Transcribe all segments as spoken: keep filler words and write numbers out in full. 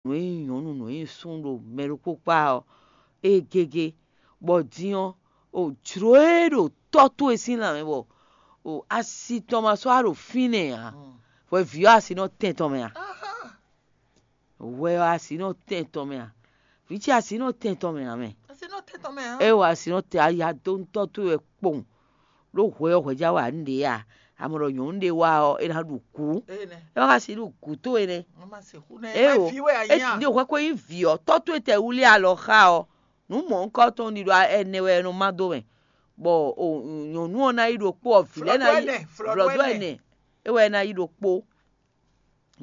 nǔ e nyí nyɔ̌nu, nǔ e nyí súnnu ɖo mɛ ɖokpó kpá ɔ́, ée gégé, bɔ din ɔ́, o jlǒ e ɖo tɔ́ towe sín lanmɛ bɔ o asi tɔn ma sɔ́ wá ɖo fínɛ́ ǎ. Hwɛ vǐ ɔ́ asi nɔ tɛn tɔn mɛ a? Hwɛ ɔ́ asi nɔ tɛn tɔn mɛ a? Vǐ ce asi nɔ tɛn tɔn mɛ ǎ mɛ. É wɔ asi nɔ tɛn aya dó tɔ́ towe wɛ kpowun. Ɖó hwɛ ɔ́ hwɛjá wɛ ǎ nǔɖé a? A mɔ ɖɔ nyɔ̌nu ɖé wá ɔ́, é ná ɖu gǔ. É wá ka si ɖu gǔ towe nɛ́. Éwo, é ɖi hwɛ ko nyí vǐ ɔ́, tɔ́ towe tɛ wlí alɔ xá ɔ́, nǔ mɔ̌hunkɔtɔn ɖiɖɔ ɛnɛ wɛ è nɔ má dó mɛ, bɔ nyɔ̌nu ɔ́ ná yi ɖokpó ɔ́, vǐ lɛ́ɛ ná yi vlɔ̌dó ɛnɛ, é wɛ ná yi ɖokpó,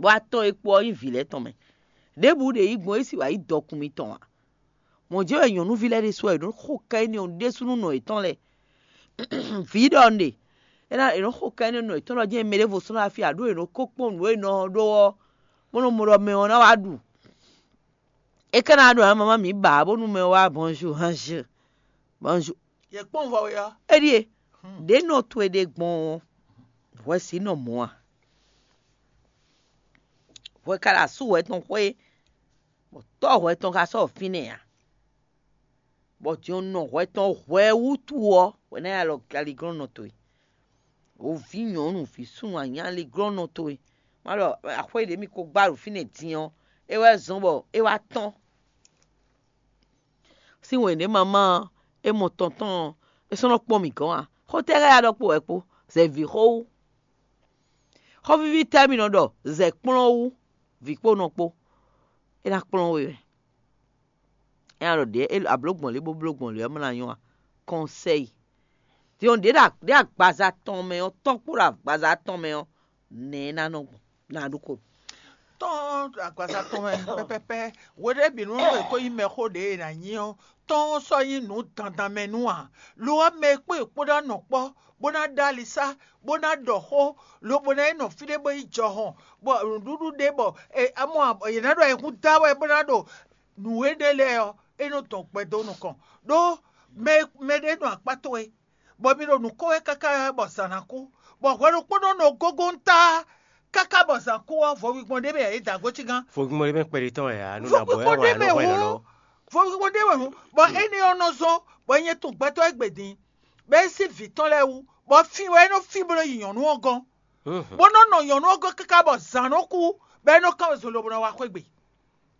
bɔ atɔn e kpo ɔ́ nyí vǐ lɛ́ɛ tɔn mɛ. Ɖěbǔ ɖě yí gbɔn é sì wǎ yí dɔkun mitɔn ǎ. Mɔ̌ jɛ́n wɛ nyɔ̌nuví lɛ́ɛ ɖésú wɛ è nɔ́ xo ká énɛ́ ɔ́ ɖésú nú nɔ yětɔn lɛ́ɛ. Vǐ ɖɔ un ɖe, é ná è nɔ́ xo ká énɛ́ nɔ yětɔn lɔ jɛ́n mɛ ɖěvo sɔ́ ná fí ǎ, ɖó è nɔ kó kpɔ́n nǔ e nɔ ɔ́ ɖó ɔ́, bó nɔ́ mɔ ɖɔ mɛ ɔ́ ná wá ɖu. É ka ná ɖɔ ǎ, mamá mǐ ba ǎ, bónú mɛ ɔ́ wá bonjour, hanjeu, bonjour. Yě kpɔ́n vɔ we ɔ́. É ɖíe, ɖě nɔ towe ɖe gbɔn ɔ́, hwɛ sǐ nɔ mɔ̌ a? Hwɛ ka ɖo asú hwɛ tɔn xwé, bɔ tɔ́ hwɛ tɔn ka sɔ́ fínɛ́ ǎ, bɔ din ɔ́ nɔ hwɛ tɔn hwɛ wútu ɔ́, hwɛ ná yi alɔ aliglɔ́nnɔ towe. Wǒ vǐ nyɔ̌nu, vǐ súnnu anyáliglɔ́nnɔ towe. Má ɖɔ axwé ɖě mi ko gbá ɖo fínɛ́ din ɔ́, é wɛ zɔ́n bɔ é wá tɔ́n. Sín wěné mamá ɔ́, é mɔ tɔn tɔn ɔ́, é sɔ́ nɔ kpɔ́n mǐ gɔ́n ǎ. Xó tɛ́ xá ya ɖɔ kpo wɛ kpó, zɛ vǐ xó wú. Xɔ́víví tɛ́ mi nɔ ɖɔ zɛ kplɔ́n wú vǐ kpó nɔ kpó? É ná kplɔ́n we wɛ. É ná ɖɔ ɖě ablǒ gbɔn lě bó bló gbɔn lě ɔ́ má ná nyɔ́ a? Kɔnsɛ́yi. Din ɔ́, ɖě ɖo agbaza tɔn mɛ ɔ́, tɔ́n kpó ɖo agbaza tɔn mɛ ɔ́, nɛ̌ é ná nɔ gbɔn? Ná ɖó ko. Tɔ́n agbaza tɔn mɛ pɛpɛpɛ, hweɖěbǐnu e ko nyí mɛxó ɖě e è nǎ nyí ɔ́, tɔ́n ɔ́ sɔ́ nyí nǔ dandan mɛ nú ǎ. Lo ɔ́, mɛ e kpó è kpó ná nɔ kpɔ́, bó ná ɖó alisá, bó ná ɖɔ xó, lobo ná yi nɔ fí ɖé bó yi jɔhɔn, bɔ nǔɖuɖu ɖé bɔ amɔ yě ná ɖo ayǐkúngban da wɛ bó ná ɖo nǔ énɛ́ lɛ́ɛ ɔ́, é nɔ dɔn gbɛ dó nukɔn. Ɖó mɛ mɛ ɖé nɔ akpá towe, bɔ mi ɖo nǔ kó wɛ káká bɔ zǎn ná kú, bɔ hwɛ ɖokpónɔ nɔ gógóńtá káká bɔ zǎn kú ɔ́, vɔwigbɔn ɖé mɛ yě da gǒ cígán. Vɔwigbɔn ɖé mɛ kpɛɖé tɔn wɛ ǎ, nú nǎ bɔ ɛ wɛ ǎ, nɔ hwɛ lɔlɔ́. Vɔwigbɔn ɖé wɛ hǔn, bɔ énɛ́ ɔ́ nɔ zɔ́n bɔ é nyɛ tunwun gbɛtɔ́ e gbe din, bɔ é sí vǐ tɔn lɛ́ɛ wú, bɔ fí wɛ é nɔ fí bó nɔ yi nyɔ̌nu ɔ́ gɔ́n, bó nɔ nɔ nyɔ̌nu ɔ́ gɔ́n káká bɔ zǎn nɔ kú, bɔ é nɔ kán wezun lobo nɔ wá xwé gbe,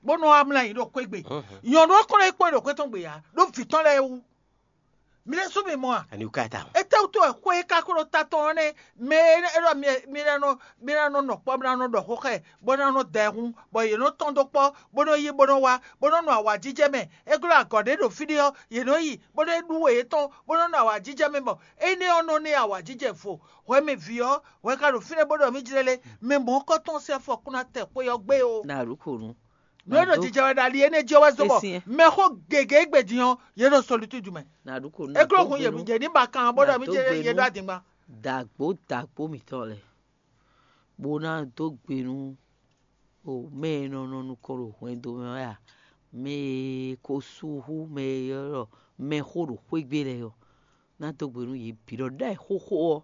bó nɔ wá mlá ayǐ ɖo xwé gbe. Nyɔ̌nu ɔ́ kɔn nɔ yi kpɔ́n ɖo xwé tɔn gbe ǎ, ɖó vǐ tɔn lɛ́ɛ wú. Mi lɛ́ sú mi mɔ a? Ani wú ka ta? Étɛ́wútu wɛ xwé e ka ko ɖo ta tɔn ɔ́ nɛ́? Mɛ e ɖɔ mi mi ná nɔ mi ná nɔ nɔ kpɔ́, mi ná nɔ ɖɔ xó xá ɛ, bó ná nɔ da ɛ hún, bɔ yě nɔ tɔ́n dó kpɔ́, bó nɔ yi bó nɔ wá, bó nɔ nɔ awǎjijɛ mɛ. É glɔ́ agɔ̌ ɖé ɖo fí ɖé ɔ́, yě nɔ yi, bó nɔ ɖú we yětɔn, bó nɔ nɔ awǎjijɛ mɛ, bɔ énɛ́ ɔ́ nɔ ná ɛ awǎjijɛ vo. Hwɛ mi vǐ ɔ́, hwɛ ka ɖo fínɛ́ bó ɖɔ mì jlɛ́ lé, mɛ mɔ̌kɔ́tɔn sín afɔ kún ná tɛ xwé ɔ́ gbé o. Nǎ ɖu kò nu. Nǔ e ɖo jijɛ wɛ ɖo ali énɛ́ jí ɔ́ wɛ zɔ́n bɔ mɛxó gěgé gbe din ɔ́, yě ɖo solitudu mɛ. Nǎ ɖu kò nu. É glɔ́ hun yě ní ba kan bó ɖɔ mì jɛ yě ɖó adingban. Dǎgbó dǎgbó mǐtɔn lɛ́ɛ, bó ná dó gbe nú o mɛ e nɔ nɔ nukɔn ɖo hwɛndo mɛ wɛ a? Mɛ e ko sú hú mɛ e ylɔ́ ɖɔ mɛxó ɖo xwé gbe lɛ́ɛ ɔ́, ná dó gbe nú yě bǐ ɖɔ ɖ'ayǐ xóxó ɔ́.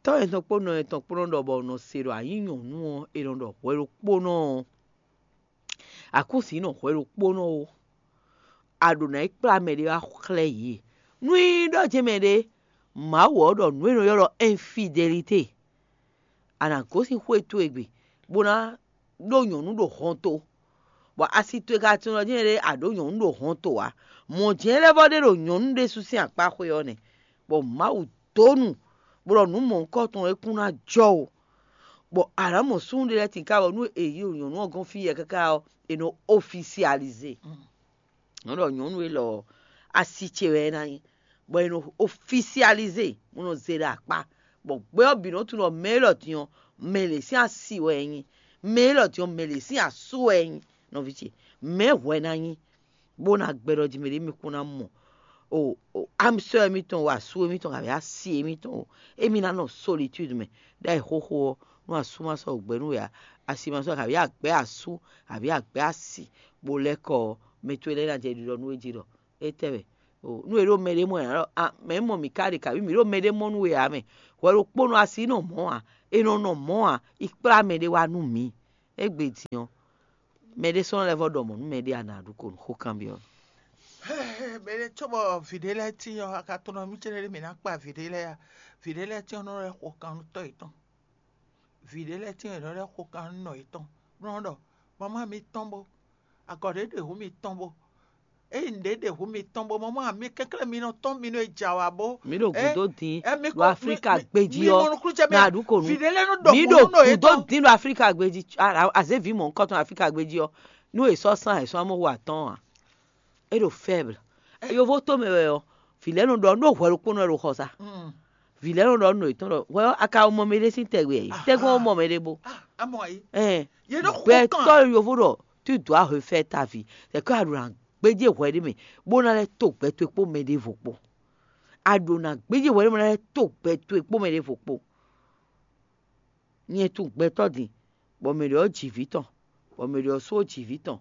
Tɔ́ yětɔn kpó nɔ yětɔn kpó nɔ ɖɔ bɔ nɔ se ɖɔ a nyǐ nyɔ̌nu ɔ́, è nɔ ɖɔ hwɛ ɖokpónɔ ɔ́, a kún sǐ nɔ hwɛ ɖokpónɔ ó, a ɖǒ ná yi kplá mɛ ɖé wá xlɛ́ yě. Nú é nyí ɖɔ jɛ́n mɛɖé Mawu ɔ́ ɖɔ nǔ e è nɔ ylɔ́ ɖɔ infidélité, a nǎ gosín xwé towe gbe, bó ná ɖó nyɔ̌nu ɖo hɔnto, bɔ asi towe ka tunwun ɖɔ jɛ́n ɖé a ɖǒ nyɔ̌nu ɖo hɔnto ǎ. Mɔ̌ jɛ́n lɛ́ vɔ ɖé ɖo nyɔ̌nu ɖésú sín akpá xwé ɔ́ nɛ́, bɔ Mawu dó nu, bó ɖɔ nǔ mɔ̌hunkɔtɔn e kún ná jɔ o. Bɔ a nǎ mɔ súnnu ɖé lɛ́ɛ tinká bɔ nú è yi ɖo nyɔ̌nu ɔ́ gɔ́n fí yɛ káká ɔ́, è nɔ ofisializé. Nɔ́ ɖɔ nyɔ̌nu élɔ́ ɔ́, asi ce wɛ é ná nyí, bɔ è nɔ ofisializé, bó nɔ zé ɖo akpá, bɔ gbɛ ɔ́ bǐ nɔ tunwun ɖɔ mɛ élɔ́ din ɔ́, mɛ lě sín asi wɛ é nyí, mɛ élɔ́ din ɔ́, mɛ lě sín asú wɛ é nyí, nɔví ce, mɛ̌ hwɛ ná nyí, bó ná gbɛ ɖɔ jí mɛ ɖě mi kún ná mɔ o amisɔ émítɔn o, asú émítɔn, kabǐ asi émítɔn o, émí ná nɔ solitude mɛ, ɖ'ayǐ xóxó ɔ́, nú asú ma sɔ́ gbɛ nú we ǎ, asi ma sɔ́ kabǐ agbɛ̌ asú, kabǐ agbɛ̌ asi, bó lɛ́ kɔ ɔ́, mɛ towe lɛ́ɛ ná jɛ ɖiɖɔ nú we jí ɖɔ étɛ́ wɛ? Nú è ɖo mɛɖé mɔ ǎ, mɛ̌ mɔ mǐ ka ɖe, kabǐ mǐ ɖo mɛɖé mɔ nú we ǎ mɛ. Hwɛ ɖokpónɔ asi nɔ mɔ̌ ǎ, è nɔ nɔ mɔ̌ ǎ, yi kplá mɛɖé wá nú mǐ. Égbé din ɔ́, mɛɖé sɔ́ nɔ lɛ́ vɔ ɖɔ mɔ̌ nú mɛɖé a nǎ ɖu ko nǔ xó kanbyɔ́. Mɛɖé cóbɔ vǐɖé lɛ́ɛ tíin ɔ́, a ka tunɔ mì céɖé ɖé mǐ ná kpa vǐɖé lɛ́ɛ a? Vǐɖé lɛ́ɛ tíin ɔ́ nɔ lɛ́ xo kan nú tɔ́ yětɔn. Vǐɖé lɛ́ɛ tíin ɔ́ nɔ lɛ́ xo kan nú nɔ yětɔn, bó nɔ́ ɖɔ: "Mamá mi tɔ́n bó, agɔ̌ ɖé ɖo hǔn mi tɔ́n bó, ényí nǔɖé ɖe hǔn mi tɔ́n bó, mamá mi kɛnklɛ́n mi nɔ tɔ́n mi nɔ yi jɛ awǎ bó." Mi ɖo gǔdo dín ɖo Aflíka gbéjí mi mɔ ɔ́, nukúnnú ce mɛ na ɖu ko nú. vǐɖé lɛ́ɛ nɔ ɖɔ Mi hǔn ɖo nú nɔ gǔdo yětɔn. dín ɖo Aflíka gbéjí, azévi mɔ̌hunkɔtɔn Aflíka gbéjí ɔ́, nú è sɔ́ sán è sɔ́ amɔ́ hu atɔ́ɔ́n ǎ. É ɖo faible. Yovo tó mɛ wɛ ɔ́, vǐ lɛ́ɛ nɔ ɖɔ nú hwɛ ɖokpónɔ wɛ ɖo xɔ sa. Mm. Vǐ lɛ́ɛ nɔ ɖɔ nú yětɔn ɖɔ hwɛ ɔ́, a ka mɔ mɛɖé sín tɛgbɛ ɛ? Tɛgbɛ ɔ́ mɔ mɛɖé bó. Ah, amɔ ayi. Ɛn, Yě nɔ xo gbɛtɔ́ kan. Yovo ɖɔ tu dois refaire ta vie. C'est que a ɖo na gbéjé hwɛ ɖé mɛ bó ná lɛ́ to gbɛ towe kpó mɛ ɖěvo kpó. A ɖo na gbéjé hwɛ ɖé mɛ ná lɛ́ to gbɛ towe kpó mɛ ɖěvo kpó. Nyɛ tunwun gbɛtɔ́ din, bɔ mɛ ɖě ɔ́ ji vǐ tɔn, bɔ mɛ ɖě ɔ́ sú ɔ́ ji vǐ tɔn,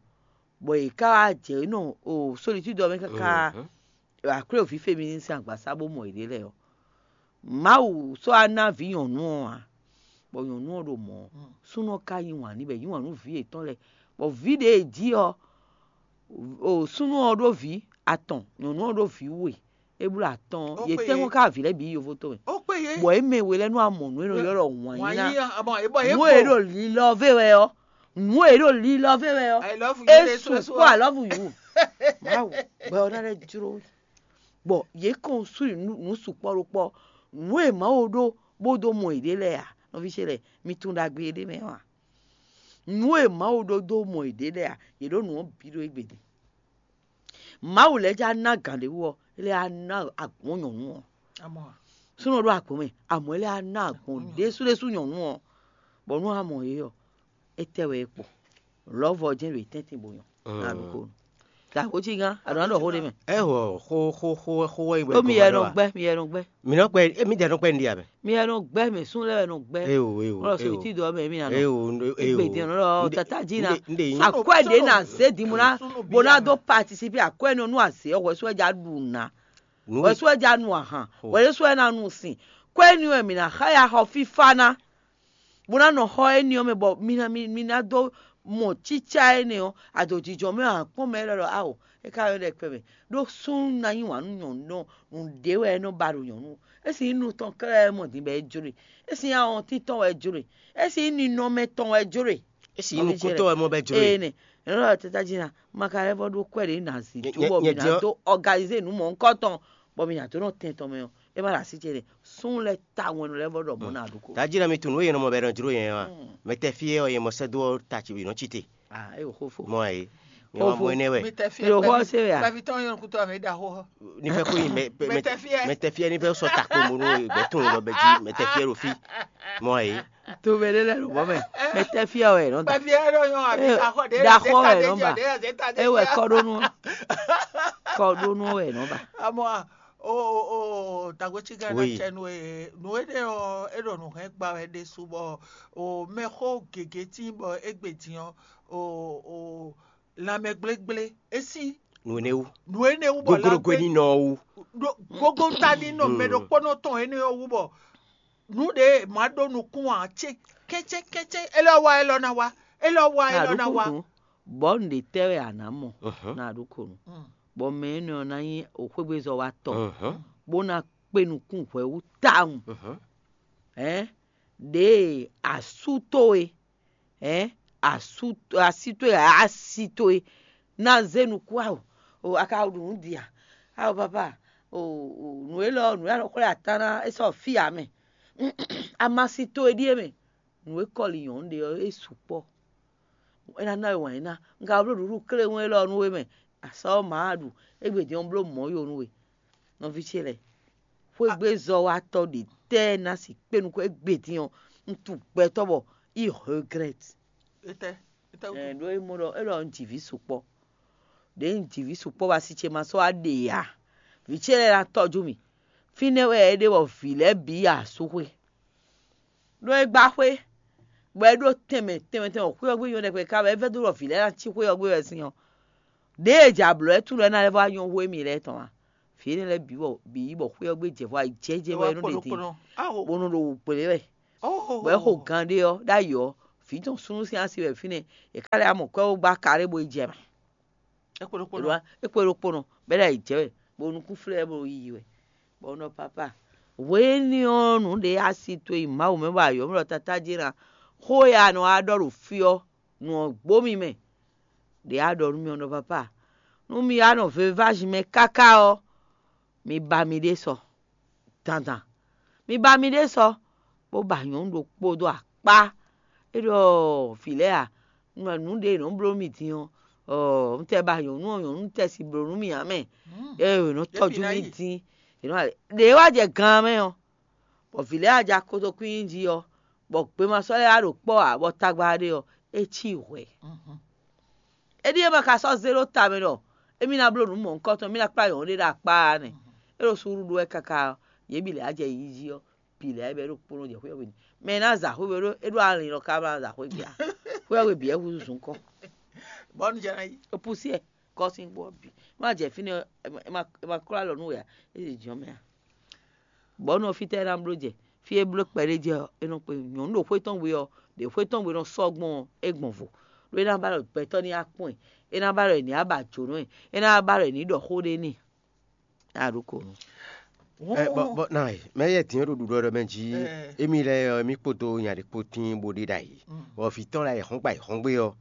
bɔ yě ká wá jɛ nɔ o solitude ɔ́ mɛ káká aklwéwǔví féminisɛn sín agbasá bó mɔ yěɖée lɛ́ɛ ɔ́. Mawu sɔ́ wá ná vǐ nyɔ̌nu ɔ́ ǎ, bɔ nyɔ̌nu ɔ́ ɖo mɔ̌ ɔ́, súnnu ɔ́ ka yí wǎn n'i bɔ è yí wǎn nú vǐ yětɔn lɛ́ɛ, bɔ vǐ ɖě e jí ɔ́, o súnnu ɔ́ ɖó vǐ atɔn, nyɔ̌nu ɔ́ ɖó vǐ we, é bló atɔ́ɔ́n, yě tɛ́nkpɔ́n ká vǐ lɛ́ɛ bǐ yi yovo tɔn mɛ. Ó kpé yě. Bɔ é mɛ we lɛ́ɛ nú amɔ nǔ e nɔ ylɔ́ ɖɔ wǎn Wǎn nyí ná. yí amɔ é bɔ yě Nǔ e ɖo lilɔ vé wɛ ɔ́, nǔ e ɖo lilɔ vé wɛ ɔ́, I love you, é Yesu, Yesu, sukpɔ́ alɔ́vu yǔ. Mawu, gbɛ ɔ́ ná lɛ́ jló we. Bɔ yě kɔn sú nǔ nǔ sukpɔ́ ɖokpɔ́, nǔ e Mawu ɖó bó dó mɔ yěɖée lɛ́ɛ ǎ, nɔví ce lɛ́ɛ, mi tunwun ɖagbe ɖé mɛ ɔ́ ǎ. Nǔ e Mawu ɖó dó mɔ yěɖée lɛ́ɛ ǎ, yě ɖó nǔ ɔ́ bǐ ɖó égbé din. Mawu lɛ́ɛ já ná gǎn ɖé wú ɔ́, é lɛ́ á ná agbɔ̌n nyɔ̌nu ɔ́. Amɔ Súnnu ɖó agbɔ̌n mɛ, amɔ̌ é lɛ́ á ná agbɔ̌n ɖésúɖésú nyɔ̌nu ɔ́, bɔ nú a mɔ yě ɔ́, étɛ́ wɛ é kpo? Lɔ̌vɔ jɛ́n ɖo yě tɛ́ntin bó nyɔ́. Ná ɖu xó nú. Gǎxó cí gán, a ɖǒ ná ɖɔ xó ɖé mɛ. Ɛ wɔ xó xó xó xó wɛ nyí Ó mi yɛ nɔ gbɛ́, mi yɛ nɔ gbɛ́. Mi nɔ kpɛ, emi dɛ nɔ kpɛ ndi abɛ. Mi yɛ nɔ gbɛ́, mɛ sún lɛ́ wɛ nɔ gbɛ́. Eyo eyo Wọ́n lɔ sɔn ìtí dɔ mɛ mi nà nɔ. Eyo eyo. Ìgbè dín lọ tata jí na. Nde yin. Akwɛ ɖe na zé di mu na. Bo na do participer akwɛ nɔ nu azé ɔ́, wɛsu ɛja ɖu na. Nu Wɛsu ɛja nu ahan. Wɛsu ɛna nu sin. Kwɛ ni wɛ mi na xa ya xɔ fifa na. Bo na nɔ xɔ eni ɔ́ mɛ bɔ mi na mi mi na do mɔ tsitsa ene ɔ́, adojijɔ mɛ akpɔn mɛ lɔ awo. E ka yɔ ɖe kpɛ mɛ. Ɖo sún na nyi wǎn nú nyɔ̌nu nɔ nǔɖé wɛ é nɔ ba ɖo nyɔ̌nu. Esi nyí nu tɔn kɛ́ɖɛ́ wɛ mɔ din bɔ é jló e. Esi nyí awɔntín tɔn wɛ é jló e. Esi nyí ninɔmɛ tɔn wɛ é jló e. Esi nu kótó wɛ mɔ bɛ jló Ee e. Nɛ, ɛnɛ lɔ tata jí na, ma ka lɛ́ vɔ ɖó kwɛ ɖě na zǐ Nyɛ- tó bɔ nyɛ- mi nyɛ na diɔ- dó organiser nǔ mɔ̌hunkɔtɔn bɔ mi na dó nɔ tɛn tɔn mɛ ɔ́, é ma ɖo así ce nɛ. Sún lɛ́ ta wɛn lɛ́ vɔ ɖɔ mɔ na ɖo ko. Tají na mi tunú eye nɔ mɔ bɛ nɔ jló yẹn wa. Mɛ tɛ fie ɔ yɛ mɔ sɛ dó ɔ ta ci nɔ ci te. Ah, e o xo fo. Mɔ ayi. Nyɛ Xo ma fo. mɔ ɛnɛ wɛ. Mi tɛ fi Lo xɔ se wɛ a? Kpɛvi tɔn yɔn kutɔ mi da xo. Ní fẹ́ kó yin mɛ Mɛ tɛ fie. Mɛ tɛ fie ní fẹ́ sɔ takpo mo nú gbɛ tún lɔ bɛ jí mɛ tɛ fie ɖo fí. Mɔ ayi. To mɛ ɖe lɛ lobɔ mɛ. Mɛ tɛ fia wɛ nɔ da. Kpɛvi yɛ ɖo yɔn abi Eh, axɔ ɖe da xɔ wɛ nɔ ba. E wɛ kɔ ɖo nu. Kɔ ɖo nu wɛ nɔ ba. Amɔ a o o o tagbo tsi gã na Oui. tsɛ nu e nu e ɖe ɔ e ɖo nu hɛn gba wɛ ɖe su bɔ o mɛ xo gege tí bɔ egbe din ɔ o o lanmɛ gblégblé esi Nu ne wu. nu ene wu bɔ Gogologo ni nɔ wu. gogo ta ni nɔ mɛ ɖokpɔnɔ tɔn ene ɔ wu bɔ nu ɖe ma ɖo nukun a tse kɛtsɛ kɛtsɛ elɔ wa elɔ na wa elɔ wa elɔ na wa. Bɔ n ɖe tɛ wɛ a na mɔ. Mhm. Na ɖo ko nu. Mm. Bɔ mɛ enɛ ɔ na nyi oxwégbezɔ wa tɔ. Mhm. Bó na kpe nukún hwɛ wú tawun. Mhm. Ɛn ɖe asu towe, ɛn asu asi towe, asi towe na zé nukún awo. O a ka ɖu nǔ dia? Awo papa, o o nǔ élɔ́ nǔ élɔ́ xwlɛ atán ná é sɔ fí ǎ mɛ. Amasi towe ɖíe mɛ. Nǔ e kɔli nyɔ̌nu ɖe ɔ́ é sukpɔ́. É ná ná we wǎn yí ná. Un ka bló ɖuɖu kléwún élɔ́ nú we mɛ. Asɔ ɔ́ mǎ ɖu. Égbé din ɔ́ bló mɔ̌ yo nú we. Nɔví ce lɛ́ɛ, xwégbézɔ́watɔ́ ɖě tɛ́ ná si kpé nukún égbé din ɔ́, un tunwun gbɛtɔ́ bɔ i regrette. Etɛ etɛ Ɛ ɖó é mɔ ɖɔ é ɖɔ un ji vǐ sukpɔ́. Ɖě un ji vǐ sukpɔ́ bɔ asi ce ma sɔ́ wá ɖe ǎ. Vǐ ce lɛ́ɛ ná tɔ́jú mì. Fínɛ́ wɛ é ɖe bɔ vǐ lɛ́ɛ bǐ yi asúxwé. Ɖó é gbá xwé, bɔ é ɖó tɛnmɛ tɛnmɛ tɛnmɛ xwé ɔ́ gbé nyɔ́ ɖɛkpɛ ká bɔ é vɛ́ dó ɖɔ vǐ lɛ́ɛ ná cí xwé ɔ́ gbé wɛ sín ɔ́. Ɖěe è jɛ ablɔ̌ ɛ tún lɔ é ná lɛ́ vɔ wá nyɔ́ hú émí lɛ́ɛ tɔn ǎ. Vǐ énɛ́ lɛ́ɛ bǐ bɔ bǐ yí bɔ xwé ɔ́ gbé jɛ vɔ ayǐjɛ́jɛ́ wɛ é nɔ ɖe din, bó nɔ ɖo wǔ kplé wɛ. Bó nɔ ɖo gan ɖé ɔ́ ɖ'ayǐ ɔ́, Vǐ tɔn súnnu sín asi wɛ fínɛ́, è ká lɛ́ amɔ kwɛ́ wó gbá ka ɖé bó yi jɛ mɛ. É kpo ɖokpónɔ. É kpo ɖokpónɔ, bɔ é ɖo yi jɛ wɛ, bɔ nukún flɛ́ bó yi wɛ. Bɔ un ɖɔ papa, hwenu énɛ́ ɔ́, nǔ ɖě asi towe yi Mawu mɛ bɔ ayɔ̌ mɛ ɖɔ tatá jí ná. Xó e a nɔ wá ɖɔ ɖo fí ɔ́, nǔ ɔ́ gbó mi mɛ. Ɖě a ɖɔ nú mì ɔ́ ɖɔ papa, nú mi wá nɔ vevázi mɛ káká ɔ́, mi ba miɖée sɔ dandan. Mi ba miɖée sɔ, bó ba nyɔ̌nu ɖokpó dó akpá. É ɖɔ vǐ lɛ́ɛ a, nǔ ɖě è nɔ bló mì din ɔ́, un tɛ ba nyɔ̌nu ɔ́, nyɔ̌nu tɛ si bló nú mì ǎ mɛ. Ée è nɔ tɔ́jú mì dín, è nɔ ɖě wá jɛ gan mɛ ɔ́, bɔ vǐ lɛ́ɛ wá jɛ akotokwín jí ɔ́, bɔ gbema sɔ́ lɛ́ɛ wá ɖo kpɔ́ ǎ, bɔ tagba ɖé ɔ́, é cí hwɛ̌. É ɖíe ma ka sɔ́ zé ɖó ta mɛ ɖɔ émí ná bló nǔ mɔ̌hunkɔtɔn, émí ná kplá nyɔ̌nu ɖé ɖo akpá ɔ́ nɛ́. É ɖo suúlu ɖó wɛ káká ɔ́, yě bǐ lɛ́ɛ wá jɛ yiyi jí ɔ́, bǐ lɛ́ɛ bɛ ɖo kplɔ́n jɛ xwé ɔ́ gbe. Mɛ e ná za xwé we ɖó é ɖó alin lɔ ká ma za xwé gbe ǎ. Xwé ɔ́ gbe bǐ wɛ húzú zun kɔ́. Bɔ́ nu jɛ ná yi. É púsí ɛ kɔ́ sín gbɔ ɔ́ bǐ. Má jɛ fínɛ́ ɔ́, é ma- é ma- é ma klɔ́ alɔ nú we ǎ, é ɖi jɔ̌n mɛ ǎ. Bɔ̌ nɔ fítɛ́ é ná bló jɛ? Fí e bló kpɛɖé jɛ ɔ́, é nɔ kpe nyɔ̌nu ɖo xwé tɔn we ɔ́, ɖě xwé tɔn we nɔ sɔ́ gbɔn ɔ́, é gbɔn vo. Ɖó é ná ba ɖɔ gbɛtɔ́ ní wá kpɔ́n ɛ, é ná ba ɖɔ è nǐ wá ba jǒnɔ ɛ, é ná ba ɖɔ è nǐ ɖɔ xó ɖé n'i. A ɖo ko nu. Ɛ, bɔ, bɔ, na, mɛ yɛ din ɖo ɖuɖɔ ɖɔ mɛ jí. Emi lɛ ɔ, mi kpodo nya ɖe kpo tin bo ɖe ɖa yi. Bɔ vǐ tɔn la yi hɔn gba yi hɔn gbe ɔ,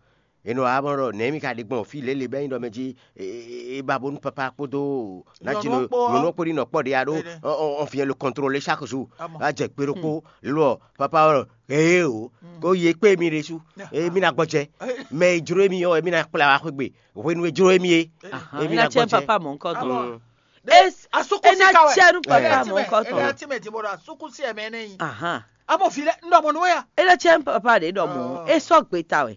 e nɔ wá mɔ ɖɔ nɛ̌ mi ka ɖe gbɔn fí lě lě bɛ nyi ɖɔ mɛ jí. E ba bónú papa kpódó nati nɔ nɔ kpó ɖi nɔ kpɔ ɖe ya ɖo. En vient le contrôler chaque jour. A jɛ gbe ɖokpó lɔ papa ɔ, ee o, ko ye kpé mi ɖe su. E mi na gbɔjɛ. Mɛ e jló mi ɔ, e mi na kplá wa xwé gbe. Hwenu e jló mi e, e mi na gbɔjɛ. Papa mɔ nkɔ tɔn. Asukun si ka wɛ. Ena tiɛ nu papa mɔ nkɔ tɔn. Ena tiɛ mɛ di mo ɖo asukun si ɛmɛ ne yi. Amo fi lɛ n ɖɔ mo nu ya. Ena tiɛ nu papa de ɖɔ mo. E sɔ gbe ta wɛ.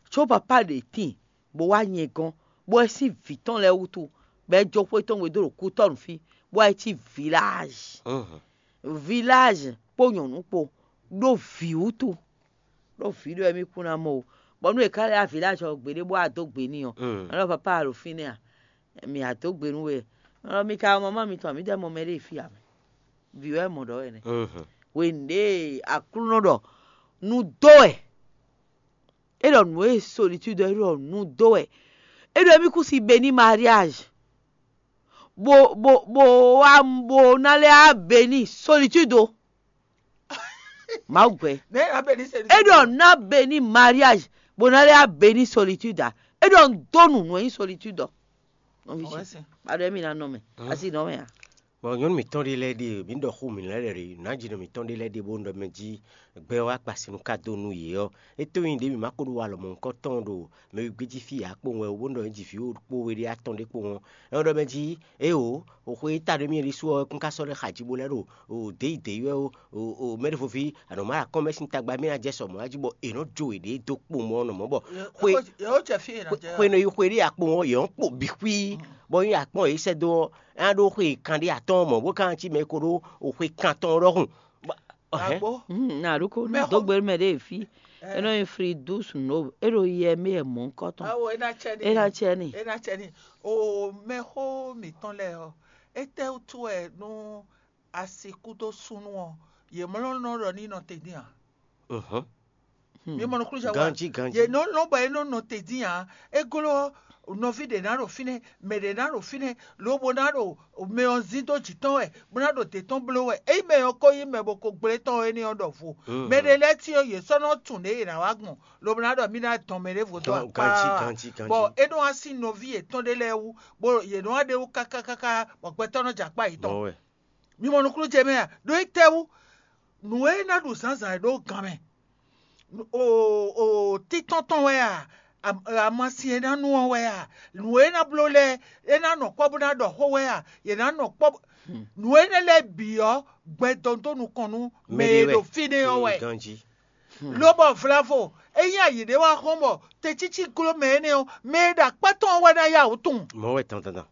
Tso papa de tin, bo wa nyɛ gɔn, bo wɛ si vi tɔn lɛ wutu, bɛ jo xwe tɔn we do ɖo ku tɔn fi, bo wɛ ti village. Village kpo nyɔnu kpo ɖo vi wutu. Ɖó vǐ ɖɔ émí kún ná mɔ o. Bɔ nú è ká lɛ́ wá vǐ lɛ́ɛ azɔn gbeɖé bó wá dó gbe n'i ɔ́, ɔ́ nɔ papa ɖo fínɛ́ a? Mǐ wá dó gbe nú we. Ɔ́ mi ka mɔ mama mitɔn, mǐ dɛ́ mɔ mɛɖé fí ǎ mɛ. Vǐ wɛ mɔ ɖɔ wɛ nɛ́. Hwenu ɖě Aklúnɔ ɖɔ nú dó wɛ, é ɖɔ nǔ e solitude é ɖɔ nǔ dó wɛ. É ɖɔ émí kún si béni mariage. Bo bo bo wá bo ná lɛ́ wá béni solitude o. Mawu gbɛ. É ɖɔ ná béni mariage, bó ná lɛ́ béni solitude ǎ. É ɖɔ un dó nǔ nú ɛ nyí solitude ɔ́. Nɔví ce, aɖɔ émí ná nɔ mɛ, asi nɔ mɛ ǎ. Bɔ nyɔnu mǐtɔn ɖé lɛ́ɛ ɖe, mǐ ɖɔ xó mǐ lɛ́ɛ ɖe, nǎjínɔ mǐtɔn ɖé lɛ́ɛ ɖe bó ɖɔ mɛ jí gbɛ ɔ́ wá kpa sin nú ká dó nú yě ɔ́, é tó nyí ɖě mǐ ma ko ɖó wa lɔmɔ̌ nukɔn tɔn ɖo mɛ wegbe jí fí ǎ kpowun wɛ ó, bó ɖɔ nyi jí vǐ kpó we ɖé atɔn ɖé kpowun ɔ́, é nɔ ɖɔ mɛ jí, éeǒ, xwe e ta ɖó émí ɖésú ɔ́, é kún ka sɔ́ ɖó xa jí bó lɛ́ ɖo dě yi dě yi wɛ ó. Mɛɖevoví, a nɔ má ɖo akɔ́n mɛ sín tagba mɛ ná jɛ sɔ mɔ̌ jí bɔ è nɔ jó yěɖée dó kpo mɔ nɔ mɔ̌ bɔ xwe xwe nɔ yi xwe ɖé akpo ɔ́, yě nɔ kpo bǐ xwí, bɔ nyí akpɔ́n yě sɛ́ dó ɔ́, é ná ɖó xwe kanɖé atɔ́ɔ́n mɔ̌ bó ka cí mɛ e ko ɖó xwe kantɔn ɔ́ ɖɔhun. Agbo. Na ɖó ko nú dó gbe mɛ ɖé fí. É nɔ nyi fridus no, é ɖo yɛ mɛ yɛ mɔ̌ kɔ́tɔn. Awo é ná cɛ ní. É ná cɛ ní. É ná cɛ ní. O mɛxó mǐtɔn lɛ́ɛ ɔ́, étɛ́ wútu wɛ nú asi kúdó súnnu ɔ́, yě mlɔ́ nɔ ɖɔ ní nɔ te dín ǎ? Mi mɔ nukúnnú jɛ wa. Ganjí, ganjí. Yě nɔ lɔn bɔ é nɔ nɔ te dín ǎ. É glɔ́ nɔví ɖě ná ɖo fínɛ́, mɛ ɖě ná ɖo fínɛ́, lobo ná ɖo mɛ ɔ́ zín dó jǐ tɔn wɛ, bó ná ɖo dě tɔn bló wɛ. Ényí mɛ ɔ́ ko nyí mɛ bo ko gblé tɔn ɔ́ énɛ́ ɔ́ ɖɔvo. Mɛ ɖé lɛ́ɛ tín ɔ́, yě sɔ́ nɔ tunwun ɖě è nǎ wá gbɔn, lobo ná ɖɔ mì ná dɔn mɛ ɖěvo dó akpá. Ganjí, ganjí, ganjí. Bɔ é nɔ wá sín nɔví yětɔn ɖé lɛ́ɛ wú, bó yě nɔ wá ɖe wú káká káká, bɔ gbɛtɔ́ nɔ jɛ akpá yětɔn. Mɔwɛ. Mi mɔ nukúnnú ce mɛ a? Ɖó étɛ́wú? Nǔ e é ná ɖu zǎnzǎn é ɖó gan mɛ. O o títɔ́n tɔn wɛ a? Amasin e ná nu ɔ́ wɛ a? Nǔ e é ná bló lɛ́ɛ, é ná nɔ kpɔ́ bó ná ɖɔ xó wɛ a? Yě ná nɔ kpɔ́. Nǔ énɛ́ lɛ́ɛ bǐ ɔ́, gbɛ dɔn dó nukɔn nú mɛ e ɖo fínɛ́ ɔ́ wɛ. Ganjí. Lobɔ vlavo, ényí ayǐ ɖé wá xɔ́n bɔ tecící gló mɛ énɛ́ ɔ́, mɛ e ɖo akpá tɔn ɔ́ wɛ ná yá wǔ tunwun. Mɔwɛ dandan.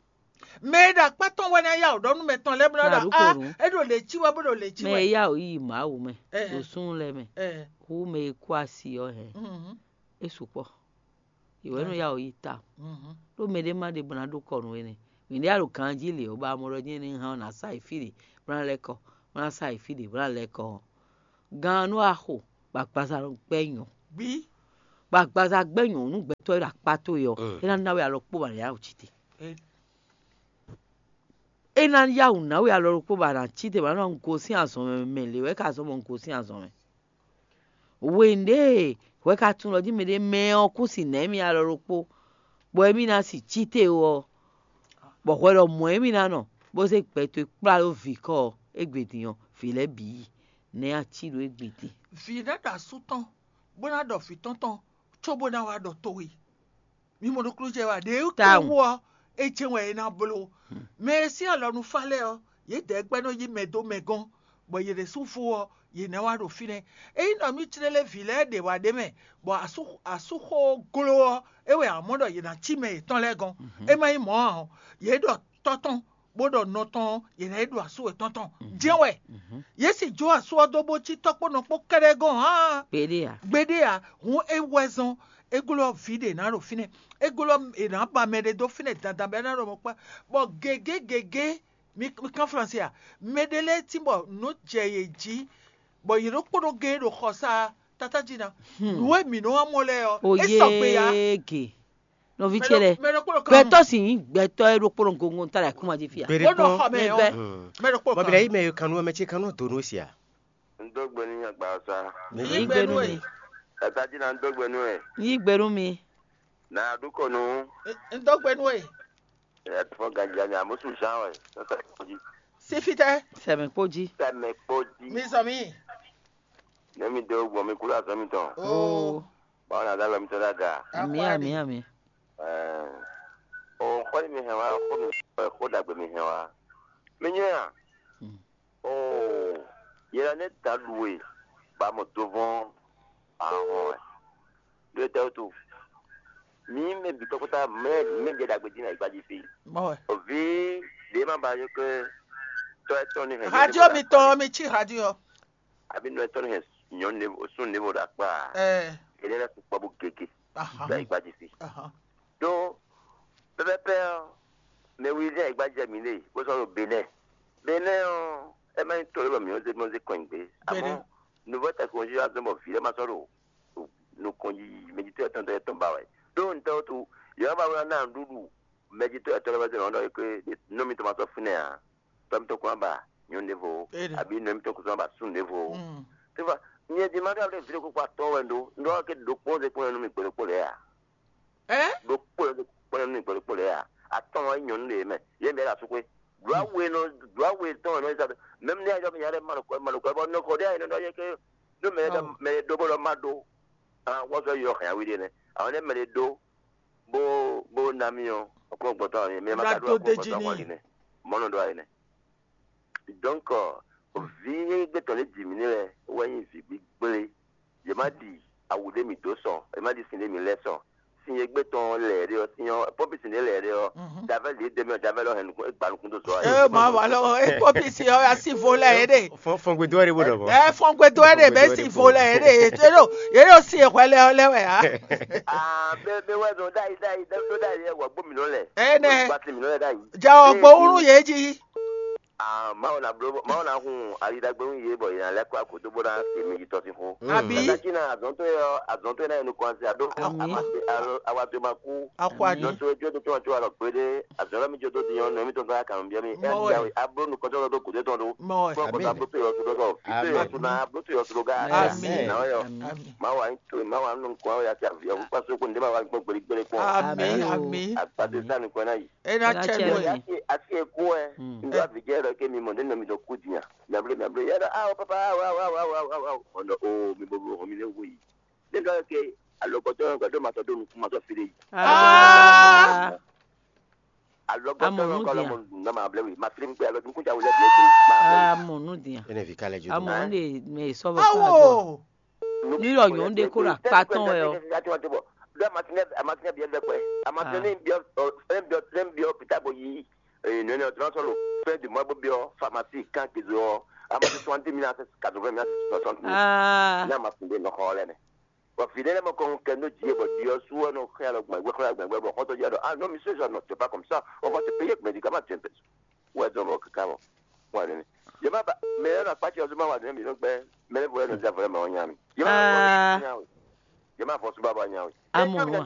Mɛ e ɖo akpá tɔn wɛ ná yá wǔ ɖɔ nú mɛtɔn lɛ́ɛ bó ná ɖɔ á, é ɖo lě cí wɛ bó ɖo lě cí wɛ. Mɛ e yá wǔ yi Mawu mɛ, ɖo súnnu lɛ́ɛ mɛ, hú mɛ e kú asi ɔ́ hɛn, é sukpɔ́. Yě wɛ nɔ yá wǔ yi ta. Ɖó mɛ ɖé má ɖe bó ná ɖó kɔ nú énɛ́. Mǐ ɖe a ɖo ganjí lě ɔ́, bɔ a mɔ ɖɔ nyɛ ní hán ɔ́ ná sa yi fí ɖě, bó ná lɛ́ kɔ, bó ná sa yi fí ɖě, bó ná lɛ́ kɔ ɔ́. Gan ɔ́ nú a xo, bɔ agbaza nɔ gbɛ́ nyɔ. Bí bɔ agbaza gbɛ́ nyɔ̌nu gbɛtɔ́ e ɖo akpá towe ɔ́, é ná ná we alɔ kpó bɔ a nǎ yá wǔ cí te. É ná yá wǔ ná we alɔ ɖokpó bɔ a nǎ cí te, bɔ a nǎ nɔ gosín azɔn mɛ, mɛ lě wɛ ka zɔ́n bɔ un gosín azɔn mɛ. Hwenu ɖě hwɛ ka tunwun ɖɔ jí mɛɖé mɛ ɔ́ kún si nǎ émí alɔ ɖokpó, bɔ émí ná si cí te ó ɔ́, bɔ hwɛ ɖɔ mɔ̌ émí ná nɔ, bó zé gbɛ towe kplá ɖó vǐ kɔ ɔ́, égbé din ɔ́, vǐ lɛ́ɛ bǐ yi, nɛ̌ a cí ɖó égbé din? Vǐ ná ɖo asú tɔn, bó ná ɖɔ vǐ tɔn tɔn, cóbó ná wá ɖɔ towe. Mi mɔ nukúnnú jɛ wɛ a? Ɖě Tawun. Kpowú ɔ́, é jɛ́n wɛ é ná bló. Mɛ e sín alɔ nú fá lɛ́ɛ ɔ́, yědɛɛ gbɛ́ nɔ yí mɛ dó mɛ gɔ́n, bɔ yě ɖésúvo ɔ́, yě ná wá ɖo fínɛ́. Ényí ɖɔ mì jlé lé vǐ lɛ́ɛ ɖě wá ɖ'é mɛ, bɔ asú asúxo gló ɔ́, é wɛ a mɔ ɖɔ yě ná cí mɛ yětɔn lɛ́ɛ gɔ́n. É má nyí mɔ̌ ǎ ɔ́, yě ɖɔ tɔ́ tɔn, bó ɖɔ nɔ tɔn ɔ́, yě ná yi ɖo asú wětɔn tɔn. Jɛ́n wɛ. Yě sì jó asú ɔ́ dó bó cí tɔ́ kpó nɔ kpó kɛ́ɖɛ́ gɔ́n ǎ. Gbeɖé ǎ. Gbeɖé ǎ. Hǔn é wɛ zɔ́n é glɔ́ vǐ ɖě ná ɖo fínɛ́, é glɔ́ è nǎ ba mɛ ɖé dó fínɛ́ dandan bɔ é ná ɖo mɔ kpá, bɔ gěgé gěgé, mi mi kán Flansé a? Mɛ ɖé lɛ́ɛ tín bɔ nǔ jɛ yě jí, bɔ yě ɖokpónɔ gé ɖo xɔsá tatájí ná. Nǔ e mǐ nɔ wá mɔ lɛ́ɛ ɔ́, é sɔgbe ǎ. Oyége. Nɔví ce lɛ́ɛ, mɛ ɖokpónɔ kan gbɛtɔ́ sin nyí gbɛtɔ́ e ɖokpónɔ gongo ta ɖo akúma jí fí a. Bó nɔ xɔ mɛ ɔ́, mɛ ɖokpónɔ bɔbila kan. Yi mɛ yo kanu mɛ ce kanu do nú sia. N dó gbe ní agbasa. Yí gbe nú mi. Ẹ̀ta jí na n dó gbe nú ẹ̀. Yí gbe nú mi. Nà á dúkọ̀ nú. N dó gbe nú ẹ̀. Ẹ̀ fọ́ gànjà ni àmúṣu ṣáá wẹ̀. Sẹ́sẹ̀ kò jí. Sɛmɛ kpó jí. Sɛmɛ kpó jí. Mi sɔ mi. Nẹ́mi dó gbọ̀n mi kúrò àzọ́ mi tán. Oo. Báwo ni àdá lọ mi tán dáadáa? Àmì àmì àmì. Ẹ̀ẹ́n. Òun kọ́ ni mi hɛn wá, kó mi kó dàgbé mi hɛn wá. Mi nyɔ́ yà. Oo, yɛ la nɛ ta ɖu we ba mɔ dovɔn ahɔn wɛ. Ɖo tɛ to. Mi mɛ bi tɔkɔta mɛ mɛ jɛ dagbe din na igbaji fi. Mɔ wɛ. Ovi de ma ba yo ke tɔ etɔn ni hɛn. Radio mi tɔn mi ci radio. Abi nɔ etɔn ni hɛn nyɔnu ne sun ne bo da kpa. Eh. Ele la sukpɔ bu gege. Aha. Da igbaji fi. Aha. Ɖó pɛpɛpɛ ɔ́, mɛ wiwi lɛ́ɛ e gbajɛ mǐ lé, bó sɔ́ ɖo Benɛ́ɛ. Benɛ́ɛ ɔ́, é má nyí to élɔ́ mǐ nɔ́ zé mɔ́ zé kɔn nyi gbé. Amɔ̌, nǔvɔ́ tɛkɔnjí wá zɔ́n bɔ vǐ lɛ́ɛ ma sɔ́ ɖo nukɔn yiyi mɛjitɔ́ yɛtɔn tɔn yɛtɔn ba wɛ. Ɖó ntɛ́ wútu, yě wá ba wlá ná nǔɖuɖu mɛjitɔ́ yɛtɔn lɛ́ɛ wɛ zé nɔ ɖɔ é nɔ mitɔn ma sɔ́ fínɛ́ ǎ. Tɔ́ mitɔn kún wá ba nyɔ̌nu ɖěvo ó, abǐ nɔ mitɔn kún sɔ́ wá ba súnnu ɖěvo ó. Tífá, nyɛ din ma ɖó aɖé vǐ ɖokpó kpó atɔ́ɔ́n wɛ un ɖó, un ɖó ɔ́ ké ɖokpó zé kpɔ́n nú mì gbe ɖokpó lɛ́ɛ ǎ. Ɖokpó lɛ́ɛ kpɔ́n nú mì gbe ɖokpó lɛ́ɛ ǎ. Atɔ́ɔ́n wɛ nyí nyɔ̌nu ɖě mɛ, yě mɛ ɖo asúxwé. Ɖǒ awu e nɔ ɖǒ awu e tɔn e nɔ yi sa mɛ̌m ní ayɔ mì nya ɖé ma ɖo kɔ ma ɖo kɔ bɔ nɔ kɔ ɖé ayɛ nɔ ɖɔ yɛ ké ɖó mɛ ɖɔ mɛ ɖó bó ɖɔ ma ɖó. Wɔ sɔ yɔ hɛn awi ɖé nɛ. Àwọn ɖé mɛ ɖé ɖó bó bó ná mì ɔ́, ọkùnrin ọgbọ̀n tán ni mɛ ma ka ɖó ọkùnrin ọgbọ̀n tán kɔn nínú mɔnú ɖó ayé nɛ. Donc, vǐ gbɛtɔ́ ní jǐ mì ní lɛ wɛ nyí vǐ gbígblé. Yě má ɖi awu ɖé mì dó sɔ, yě má ɖi sin ɖé mì lɛ́ sɔ. Sin e gbé tɔn lɛ̌ ɖé ɔ́, sin ɔ́, pɔ́pi sin ɖé lɛ̌ ɖé ɔ́, davɛ́ lě dé mɛ, davɛ́ lɔ hɛn nukún, é gba nukún dó sɔ. Ɛ ma wa lɔ, é pɔ́pi sin ɔ́, asi vo lɛ yé ɖe. Fɔngbe dó wɛ ɖe bó ɖɔ bɔ. Ɛ fɔngbe dó wɛ ɖe bɛ si vo lɛ yé ɖe, yé ɖo yé ɖo si hwɛ lɛ ɔ́ lɛ wɛ a. Aa bɛ bɛ wɛ zɔn ɖ'ayi ɖ'ayi ɖ'ayi ɖ'ayi wɔ gbó mì nɔ lɛ. Ɛ nɛ. Gbati mì nɔ lɛ ɖ'ayi. Jɛ ɔ gbɔ wúrú yé jí. Mawu na bló mawu na hun ali ɖagbe nú yě bɔ yě ná lɛ́ kɔ agodo bó ná se mi yi tɔsínxó. Abi. Tata cí na azɔn tó yɔ azɔn tó yɛ ná yɛ nukɔn asi aɖó. Ami. Awa tó ma kú. Akɔ adi. Nɔ tó jó tó tó tó alɔ gbéɖé azɔn lɔ mi jó tó dinyɔ nɔ mi tó gbá kàn biɔ mi. Mɔwɛ. Abló nukɔn tó lɔ tó gòdó tɔn do. Mɔwɛ. Kó kó abló tó yɔ tó dɔ fi tó yɔ tó na abló tó yɔ tó ga. Ami. Na yɔ. Ami. Mawu anyi tó mawu anyi nukɔn ya ti avi ɔkú kpasó kó ndé ma wa gbɔ gbeli gbeli kpɔn. Ami. Ami. Agbadé sá nukɔn na yi. Ena cɛ nɔ ye. Asi eku ɛ. Ndo abidjan yɛ lɔ ke mi mɔ ne nɔ mi dɔ ku dinya. Miable miable yɛ lɔ awo papa awo awo awo awo awo awo. Ɔnɔ o mi bo bo mi ne wo yi. Ne dɔ ke alɔkɔtɔ yɛ gbɛdɔ ma sɔ do nukun ma sɔ fi de yi. Aa. Alɔkɔtɔ yɛ kɔ lɔ mɔ nukun ma able wi ma fi mi pe alɔ nukun ja wele bi egbe. Aa mɔ nu dinya. Ene vi kalɛ jo. Amɔ nu de mɛ sɔbɔ. Awo. Ní lɔ nyɔ̌nu ɖé kó ɖo akpá tɔn wɛ ɔ́. Ɖó amasinɛ amasinɛ biɛ bɛ kpɛ. Amasinɛ ní biɔ ní biɔ ní biɔ pita bɔ yi nɔnɔ ɔdún sɔlɔ fɛn di mɔ bó biɔ famasi kan kizu ɔ. Amasin soixante mille à quatre-vingt mille à soixante mille. Ní amasin ɖé nɔ xɔ lɛ nɛ. Bɔ fi ɖé lɛ mɔ kɔn kɛ nɔ dzi bɔ dzi ɔ su ɔ nɔ xɛ alɔ gbɛgbɛ xɔ gbɛgbɛ bɔ xɔtɔ dzi ɔ dɔ ah non monsieur je ne fais pas comme ça, on va te payer médicament tu es. Ouais donc kaka bon. Ouais. Yema ba mɛ yɛ na kpatsi ɔsùn ma wà ní mi ló gbɛ mɛ lé fo yɛ nɔ zɛ fɔlɛ mɛ ɔ nya mi. Yema ba kɔ nya o. Jema fɔ suba ba nyawe. Amɔ wa.